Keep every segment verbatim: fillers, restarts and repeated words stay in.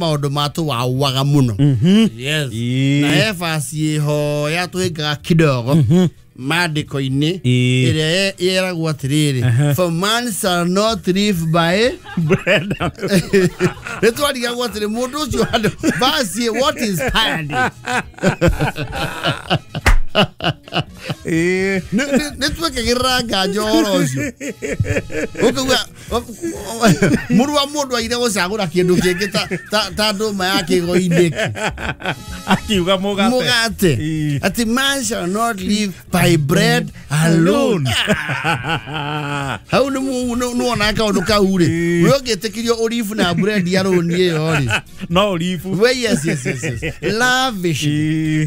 maũndũ matũwawaga mũno. Yes. Na he verse ĩho yatũhĩngaga kidogo maandĩko-inĩ ĩrĩa ĩragwo atĩrĩrĩ, for man shall not live by bread. Nĩ twarigagwo atĩrĩ mũndũ ũcio handũ verse what inspired it. Nĩ twekagĩrĩra nganja ũhoro ũcio. Ũkauga mũrũ wa mũndũ aire gũcagũra kĩndũ kĩngĩ ta ta ndũma ya kĩgo-inĩ. Akiuga mũgate. Mũgate. Atĩ man shall not live by bread alone. Hau nĩ nĩwona kaũndũ kau rĩ, we ũngĩtĩkĩrio ũribu na bread alone ĩyo rĩ. No ũribu. We yes yes yes yes. Lavish.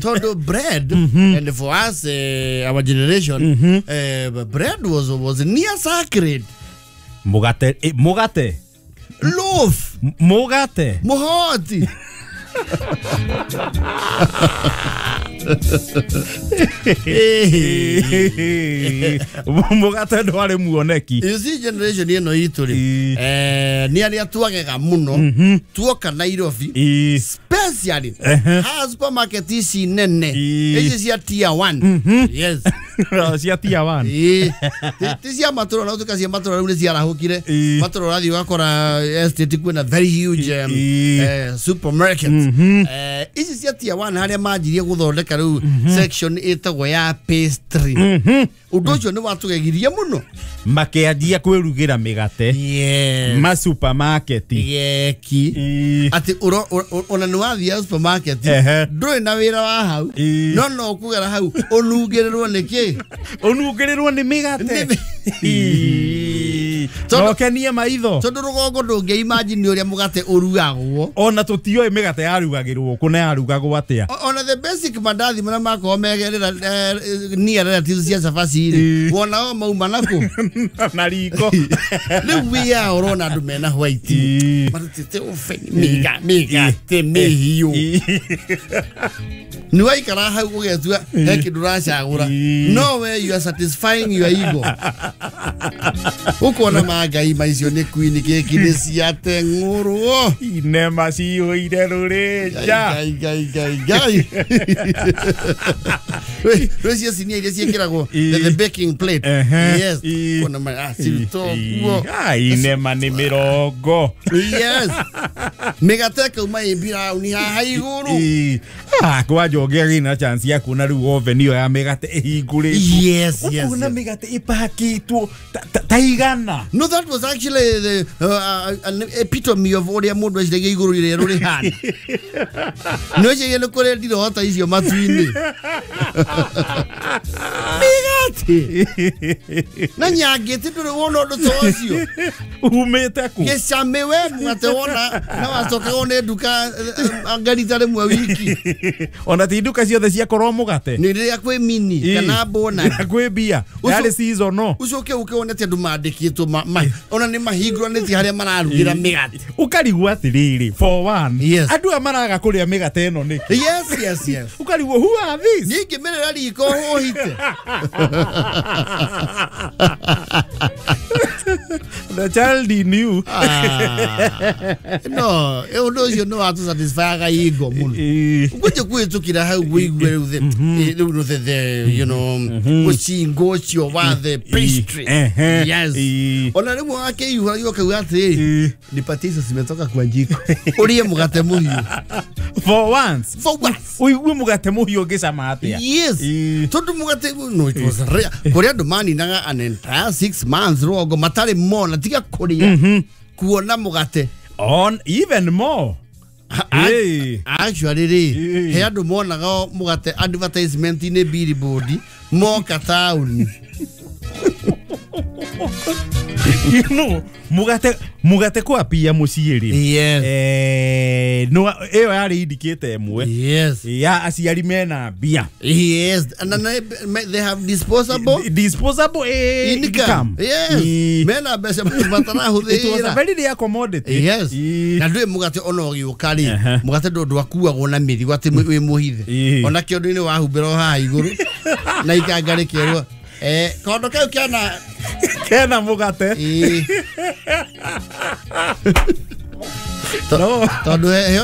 Tondũ bread and for us uh, our generation mm -hmm. uh, bread was was near sacred. Mugate eh, mugate loaf mugate muhoti. Mugate ndwari muoneki. You see generation ĩno itũ rĩ, eh nĩ arĩa twagega mũno tuoka Nairobi especially ha supermarket ici nene ici cia tier one. Yes. Cia tier one. Eh ti cia matũra na tuka cia matũra rĩu nĩ ciarahũkire matũra ũrathiĩ ũgakora estate kwĩna very huge um, eh, supermarket. Eh ici cia tier one harĩa manjirie gũthondeka rĩu section ĩtagwo ya pastry. Ũndũ ũcio nĩ watũgegirie mũno makĩanjia kwĩrugĩra mĩgate. Yes. Ma supermarket yeki atĩ ona nĩ wathiĩ supermarket ndũrĩ na wĩra wa hau no no ũkũgera hau ũnungĩrĩrwo nĩ kĩ ũnungĩrĩrwo nĩ mĩgate no kenie maitho tondũ rũgongo ndũngĩ imagine ũrĩa mũgate ũrugagwo ona tũtioĩ mĩgate yarugagĩrwo kũ na yarugagwo atĩa ona the basic mandathi marĩa makoragwo megerera nia relatives cia cabaci rĩ wona o mauma nakũ na riko rĩu wĩa ũrona andũ mena white marutĩte oven mĩga mĩgate mĩhiũ nĩ waikara hau ũgetua he kĩndũ ũracagũra no way you are satisfying your ego ũkona mangai maicio nĩ queen keki nĩ ciateng'ũrwo inema ciyũire rũrĩnja ngai ngai ngai ngai rĩu cinia iria ciĩkĩragwo the baking plate. Yes. Kona ma cirutwo kuo inema nĩ mĩrongo. Yes. Mĩgate ĩkauma ĩ mbirauni haha igũrũ kwanja ũngĩagĩ na chance ya kuona rĩu oven ĩyo ya mĩgate ĩhingũrĩtwo. Yes, yes. Ũkona mĩgate ĩpakĩtwo ta igana. No, that was actually the uh, an epitome of ũrĩa mũndũ eciragia igũrũ rĩrĩa rĩhana. Nĩ weciragia nĩ kũrĩ ndirota icio matu-inĩ. Mĩgate na nyangĩte ndũrĩ wona ũndũ ta ũcio umĩte kũ gĩcamĩ we mũgate wona na wacokagwo nĩ nduka ngarita rĩmwe wiki ona ti nduka ciothe ciakorwo mũgate nĩ rĩrĩa kwĩ mini kana bona kwĩ mbia yarĩ season ũcoke ũke wone atĩ andũ mandĩkĩtwo ona nĩ mahingũranĩtie harĩa mararugĩra mĩgate ũkarigwo atĩrĩrĩ for one yes. Andũ aya maraga kũrĩa mĩgate ĩno nĩkĩ yes yes yes ũkarigwo who are these ningĩ mĩrĩra riko hũhite The child in you. Ah, no, ũndũ ũcio nĩ watũsatisfyaga ego mũno ngwĩje kwĩtũkĩra hau wĩigue rĩu the rĩu the the you know mũcingo ũcio wa the pastry. Yes. Ona rĩmwe wakĩiyũra ũkauga atĩrĩrĩ nipatie icio cimetoka kwa njiko ũrĩe mũgate mũhiũ for once for once ũigue mũgate mũhiũ ũngĩcama atĩa. Yes. Tondũ mũgate no it was rare kũrĩa andũ maninaga an entire six months rũgongo matarĩ mona tiga kũrĩa kuona mũgate on even more. Hey. Actually rĩ he andũ monaga mũgate advertisement-inĩ billboard moka taũni. You know mũgate mũgate kwa pia mũciĩ rĩ. Yes. Eh no ĩyo yarĩ indicate ĩmwe. Yes. Ya aciari mena mbia. Yes. And then they have disposable disposable eh, income. Yes. Mena mbeca matarahũthĩra. It was a very rare commodity. Yes. Na ndũĩ mũgate ona ũgĩũka rĩ mũgate ndũ ndwakuagwo na mĩrigo atĩ wĩ mũhithe ona kĩondo-inĩ wahumbĩra o haha igũrũ na ikanga rĩkerwo eh kondo kau kena kena mũgate. Tondu he